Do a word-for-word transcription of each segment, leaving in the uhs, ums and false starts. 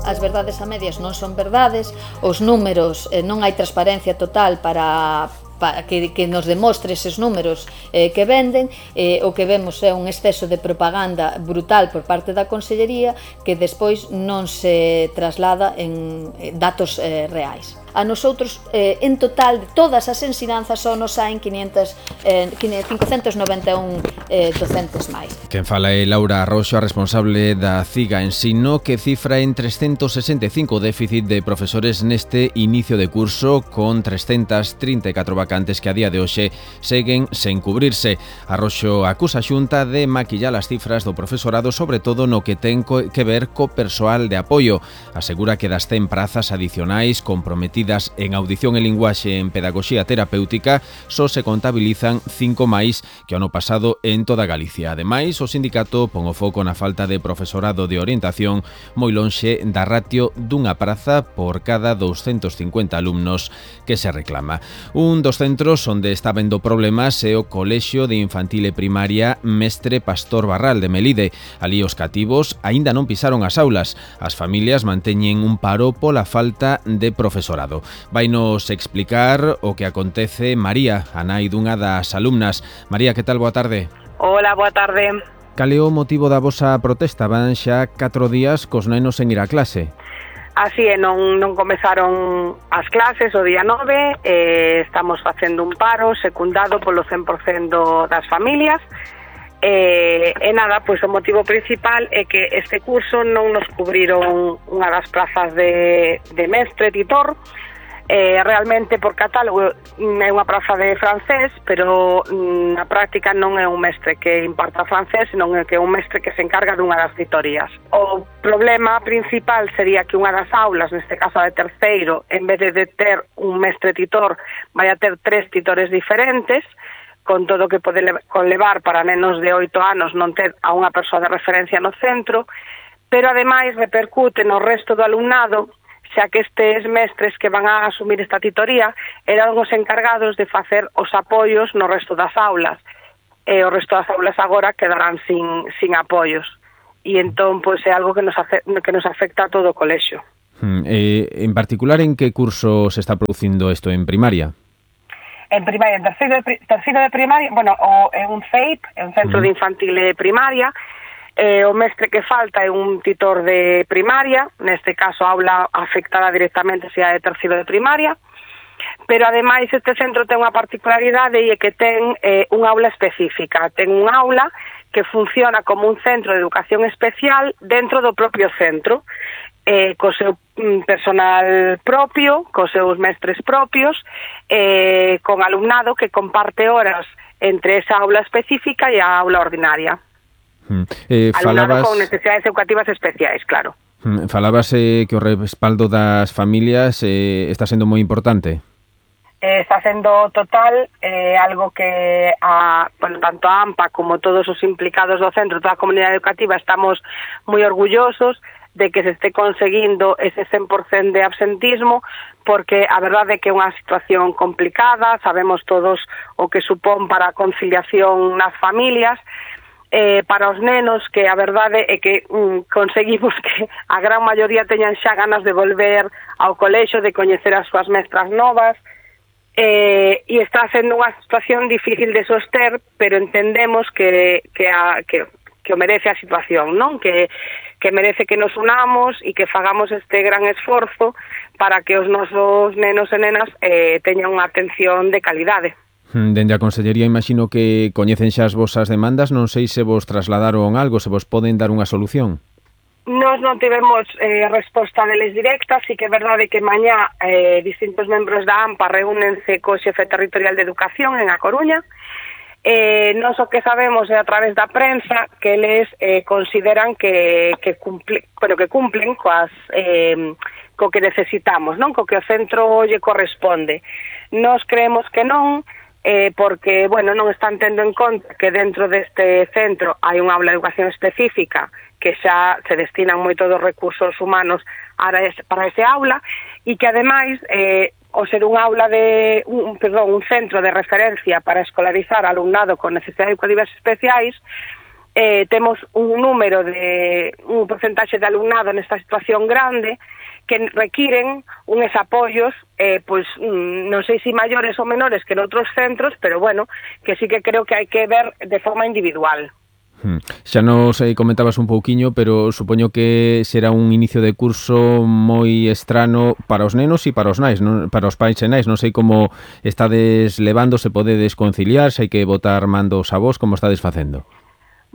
as verdades a medias non son verdades, os números eh, non hai transparencia total para para que, que nos demostre eses números eh, que venden, eh, o que vemos é un exceso de propaganda brutal por parte da Consellería que despois non se traslada en datos eh, reais. A nosotros, eh, en total, de todas as ensinanzas só nos saen quinientos, eh, quinhentos noventa e un eh, docentes máis. Quen fala é Laura Arroxo, a responsable da CIGA Ensino, que cifra en trescentos sesenta e cinco o déficit de profesores neste inicio de curso, con trescentas trinta e catro vacantes que a día de hoxe seguen sen cubrirse. Arroxo acusa a Xunta de maquillar as cifras do profesorado, sobre todo no que ten que ver co persoal de apoio. Asegura que das cen prazas adicionais comprometidas en audición e linguaxe en pedagogía terapéutica só se contabilizan cinco máis que o ano pasado en toda Galicia. Ademais, o sindicato pon o foco na falta de profesorado de orientación moi lonxe da ratio dunha praza por cada douscentos cincuenta alumnos que se reclama. Un dos centros onde está vendo problemas é o Colexio de Infantil e Primaria Mestre Pastor Barral de Melide. Ali os cativos aínda non pisaron as aulas. As familias manteñen un paro pola falta de profesorado. Vainos explicar o que acontece María, a nai dunha das alumnas. María, que tal? Boa tarde. Hola, boa tarde. Cal é o motivo da vosa protesta? Van xa catro días cos nenos en ir a clase. Así é, non, non comezaron as clases o día nove, eh, estamos facendo un paro secundado polo cen por cento das familias. E, e nada, pois o motivo principal é que este curso non nos cubriron unha das plazas de, de mestre titor. Eh, realmente por catálogo é unha praza de francés, pero na práctica non é un mestre que imparta francés, senón é que é un mestre que se encarga dunha das titorías. O problema principal sería que unha das aulas, neste caso a de terceiro, en vez de ter un mestre titor, vai a ter tres titores diferentes, con todo o que pode conlevar para nenos de oito anos non ter a unha persoa de referencia no centro, pero ademais repercute no resto do alumnado, xa que estes mestres que van a asumir esta titoría eran os encargados de facer os apoios no resto das aulas, e o resto das aulas agora quedarán sin, sin apoios, e entón pois é algo que nos, afe, que nos afecta a todo o colexio. Hmm, eh, en particular, en que curso se está producindo isto? En primaria? En primaria, en terceiro de, terceiro de primaria, bueno, o, é un C E I P, é un centro mm. de infantil e primaria, eh, o mestre que falta é un titor de primaria, neste caso a aula afectada directamente se a de terceiro de primaria, pero ademais este centro ten unha particularidade e é que ten eh, unha aula específica, ten unha aula que funciona como un centro de educación especial dentro do propio centro, eh, co seu personal propio, cos seus mestres propios, eh, con alumnado que comparte horas entre esa aula específica e a aula ordinaria. Mm. Eh, alumnado falabas... con necesidades educativas especiais, claro. Mm. Falabas eh, que o respaldo das familias eh, está sendo moi importante. Eh, está sendo total, eh, algo que a, bueno, tanto a AMPA como todos os implicados do centro, toda a comunidade educativa, estamos moi orgullosos de que se este conseguindo ese cen por cento de absentismo, porque a verdade é que é unha situación complicada, sabemos todos o que supón para a conciliación nas familias, eh, para os nenos, que a verdade é que mm, conseguimos que a gran maioría teñan xa ganas de volver ao colexio, de coñecer as súas mestras novas, eh, e está sendo unha situación difícil de soster, pero entendemos que, que, a, que, que o merece a situación, non? Que que merece que nos unamos e que fagamos este gran esforzo para que os nosos nenos e nenas eh, teñan unha atención de calidade. Dende a Consellería imagino que coñecen xa as vosas demandas, non sei se vos trasladaron algo, se vos poden dar unha solución. Nos non tivemos eh, resposta deles directa, sí que é verdade que mañá eh, distintos membros da AMPA reúnense co xefe territorial de Educación en A Coruña. Eh, non o que sabemos é a través da prensa que eles eh, consideran que, que, cumple, bueno, que cumplen coas, eh, co que necesitamos, non? Co que o centro lle corresponde. Nos creemos que non, eh, porque bueno, non están tendo en conta que dentro deste centro hai unha aula de educación específica que xa se destinan moito dos recursos humanos para ese, para ese aula, e que ademais eh, o ser un aula de un, perdón, un centro de referencia para escolarizar alumnado con necesidades educativas especiais, eh, temos un número de un porcentaxe de alumnado nesta situación grande que requiren uns apoios, eh, pois non sei se maiores ou menores que en outros centros, pero bueno, que sí que creo que hai que ver de forma individual. Hmm. Xa nos eh, comentabas un pouquiño, pero supoño que será un inicio de curso moi estrano para os nenos e para os nais, non? Para os pais e nais. Non sei como estades levando, se podedes conciliar, se hai que botar mandos a vos, como estades facendo?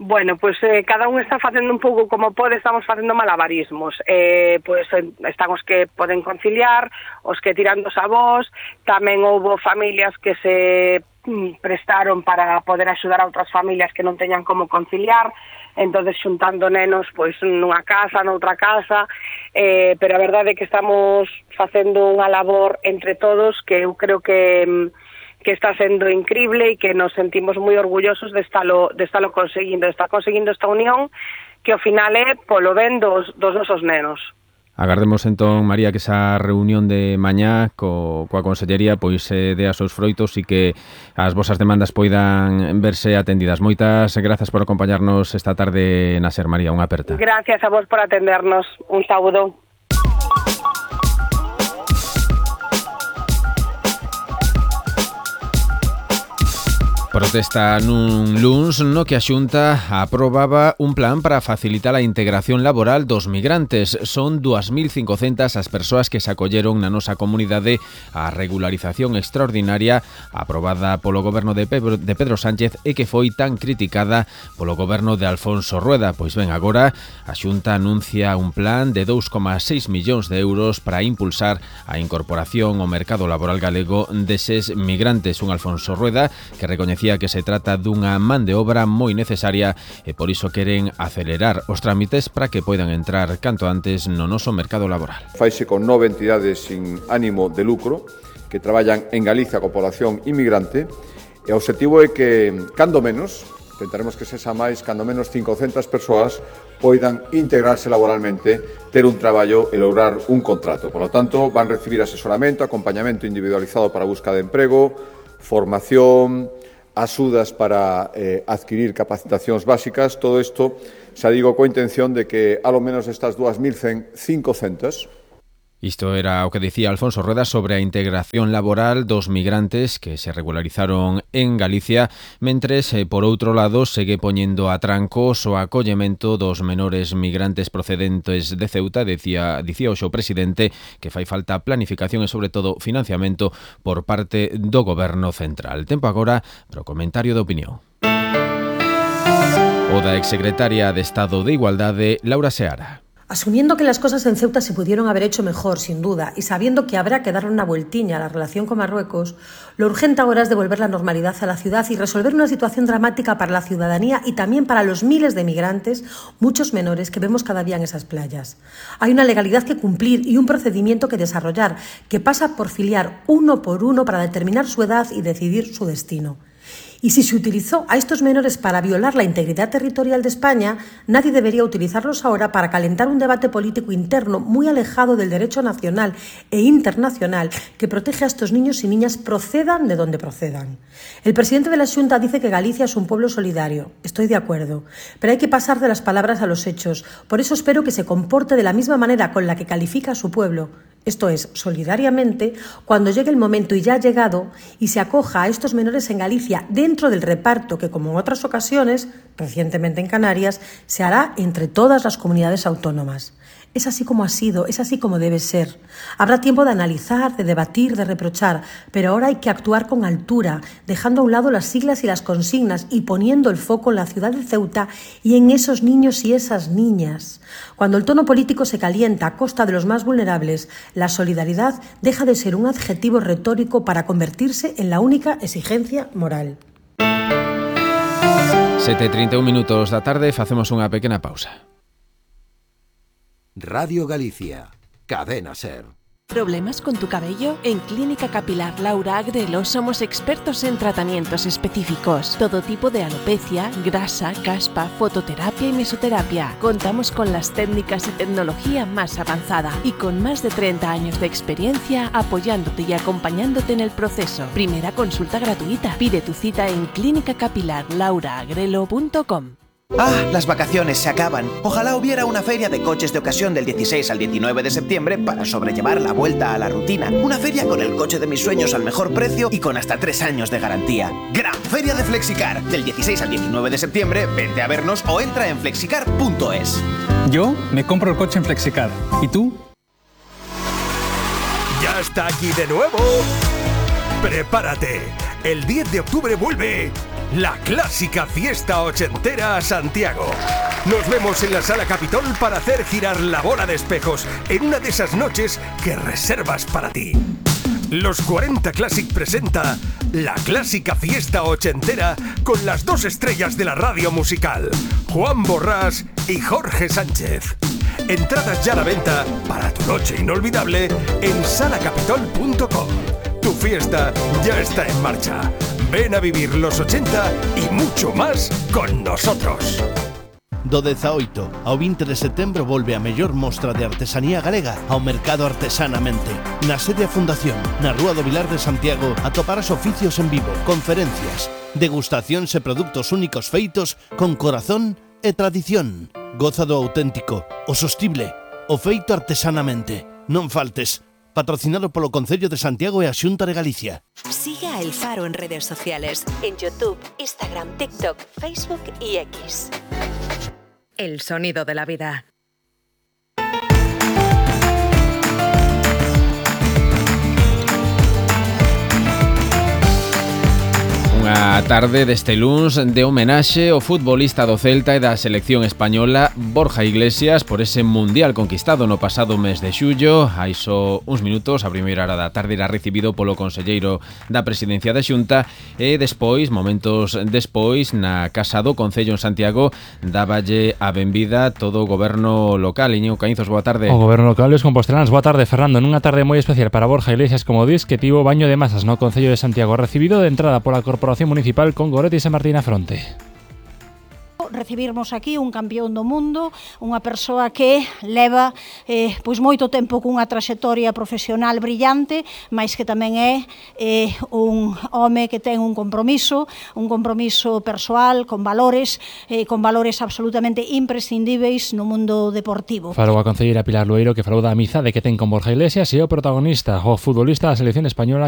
Bueno, pois eh, cada un está facendo un pouco como pode, estamos facendo malabarismos. Eh, pois están os que poden conciliar, os que tiran dos avós, tamén houbo familias que se mm, prestaron para poder axudar a outras familias que non teñan como conciliar, entonces xuntando nenos pois nunha casa, noutra casa, eh, pero a verdade é que estamos facendo unha labor entre todos que eu creo que... Mm, que está sendo increíble e que nos sentimos moi orgullosos de estalo, de estalo conseguindo, de estar conseguindo esta unión que ao final é polo ben dos, dos nosos nenos. Agardemos entón, María, que esa reunión de mañá co, coa Consellería pois eh, dea seus froitos e que as vosas demandas poidan verse atendidas. Moitas grazas por acompañarnos esta tarde na SER, María, unha aperta. Gracias a vos por atendernos. Un saúdo. Protesta nun luns no que a Xunta aprobaba un plan para facilitar a integración laboral dos migrantes. Son dúas mil cincocentas as persoas que se acolleron na nosa comunidade á regularización extraordinaria aprobada polo goberno de Pedro, de Pedro Sánchez e que foi tan criticada polo goberno de Alfonso Rueda. Pois ben, agora a Xunta anuncia un plan de dous coma seis millóns de euros para impulsar a incorporación ao mercado laboral galego deses migrantes. Un Alfonso Rueda que recoñece que se trata dunha man de obra moi necesaria e por iso queren acelerar os trámites para que poidan entrar canto antes no noso mercado laboral. Faise con nove entidades sin ánimo de lucro que traballan en Galicia con población inmigrante e o objetivo é que, cando menos, tentaremos que sexa máis, cando menos cincocentas persoas poidan integrarse laboralmente, ter un traballo e lograr un contrato. Por lo tanto, van recibir asesoramento, acompañamento individualizado para a busca de emprego, formación, axudas para eh, adquirir capacitacións básicas, todo isto, xa digo, coa intención de que, alo menos estas dúas mil cincocentas, Isto era o que dicía Alfonso Rueda sobre a integración laboral dos migrantes que se regularizaron en Galicia, mentres, eh, por outro lado, segue poñendo a trancos o acollemento dos menores migrantes procedentes de Ceuta. Dicía, dicía o seu presidente que fai falta planificación e, sobre todo, financiamento por parte do Goberno Central. Tempo agora para o comentario de opinión. O da exsecretaria de Estado de Igualdade, Laura Seara. Asumiendo que las cosas en Ceuta se pudieron haber hecho mejor, sin duda, y sabiendo que habrá que darle una vueltiña a la relación con Marruecos, lo urgente ahora es devolver la normalidad a la ciudad y resolver una situación dramática para la ciudadanía y también para los miles de migrantes, muchos menores, que vemos cada día en esas playas. Hay una legalidad que cumplir y un procedimiento que desarrollar, que pasa por filiar uno por uno para determinar su edad y decidir su destino. Y si se utilizó a estos menores para violar la integridad territorial de España, nadie debería utilizarlos ahora para calentar un debate político interno muy alejado del derecho nacional e internacional que protege a estos niños y niñas, procedan de donde procedan. El presidente de la Xunta dice que Galicia es un pueblo solidario. Estoy de acuerdo, pero hay que pasar de las palabras a los hechos. Por eso espero que se comporte de la misma manera con la que califica a su pueblo, esto es, solidariamente, cuando llegue el momento, y ya ha llegado, y se acoja a estos menores en Galicia dentro del reparto que, como en otras ocasiones, recientemente en Canarias, se hará entre todas las comunidades autónomas. Es así como ha sido, es así como debe ser. Habrá tiempo de analizar, de debatir, de reprochar, pero ahora hay que actuar con altura, dejando a un lado las siglas y las consignas y poniendo el foco en la ciudad de Ceuta y en esos niños y esas niñas. Cuando el tono político se calienta a costa de los más vulnerables, la solidaridad deja de ser un adjetivo retórico para convertirse en la única exigencia moral. sete e trinta e un minutos da tarde, facemos unha pequena pausa. Radio Galicia, Cadena SER. ¿Problemas con tu cabello? En Clínica Capilar Laura Agrelo somos expertos en tratamientos específicos. Todo tipo de alopecia, grasa, caspa, fototerapia y mesoterapia. Contamos con las técnicas y tecnología más avanzada y con más de treinta años de experiencia apoyándote y acompañándote en el proceso. Primera consulta gratuita. Pide tu cita en clínica capilar laura agrelo punto com. Ah, las vacaciones se acaban. Ojalá hubiera una feria de coches de ocasión del dieciséis al diecinueve de septiembre para sobrellevar la vuelta a la rutina. Una feria con el coche de mis sueños al mejor precio y con hasta tres años de garantía. Gran Feria de Flexicar. Del dieciséis al diecinueve de septiembre, vente a vernos o entra en flexicar punto es. Yo me compro el coche en Flexicar. ¿Y tú? ¡Ya está aquí de nuevo! ¡Prepárate! El diez de octubre vuelve la clásica fiesta ochentera a Santiago. Nos vemos en la Sala Capitol para hacer girar la bola de espejos en una de esas noches que reservas para ti. Los cuarenta Classic presenta la clásica fiesta ochentera con las dos estrellas de la radio musical, Juan Borrás y Jorge Sánchez. Entradas ya a la venta para tu noche inolvidable en sala capitol punto com. Tu fiesta ya está en marcha. Ven a vivir los ochenta y mucho más con nosotros. Do dezaoito ao vinte de setembro volve a mellor mostra de artesanía galega ao Mercado Artesanamente. Na sede a Fundación, na Rúa do Vilar de Santiago, atoparás oficios en vivo, conferencias, degustacións e produtos únicos feitos con corazón e tradición. Goza do auténtico, o sostible, o feito artesanamente. Non faltes. Patrocinado polo Concello de Santiago e a Xunta de Galicia. Siga a El Faro en redes sociales, en YouTube, Instagram, TikTok, Facebook y X. El sonido de la vida. Unha tarde deste luns de homenaxe ao futbolista do Celta e da selección española Borja Iglesias por ese mundial conquistado no pasado mes de xullo. Hai só uns minutos, a primeira hora da tarde, era recibido polo conselleiro da Presidencia da Xunta e despois, momentos despois, na Casa do Concello en Santiago, dáballe a benvida todo o goberno local. Iñigo Caínzos, boa tarde. O goberno local e os compostelanos, boa tarde, Fernando. Nunha tarde moi especial para Borja Iglesias, como dis, que tivo baño de masas no Concello de Santiago, recibido de entrada pola Corporación Municipal con Goretti e San Martín a fronte. Recibirmos aquí un campeón do mundo, unha persoa que leva eh, pois moito tempo cunha traxectoria profesional brillante, mas que tamén é eh, un home que ten un compromiso, un compromiso persoal, con valores, eh, con valores absolutamente imprescindíveis no mundo deportivo. Falou a concelleira Pilar Lueiro, que falou da amizade que ten con Borja Iglesias e o protagonista, o futbolista da selección española,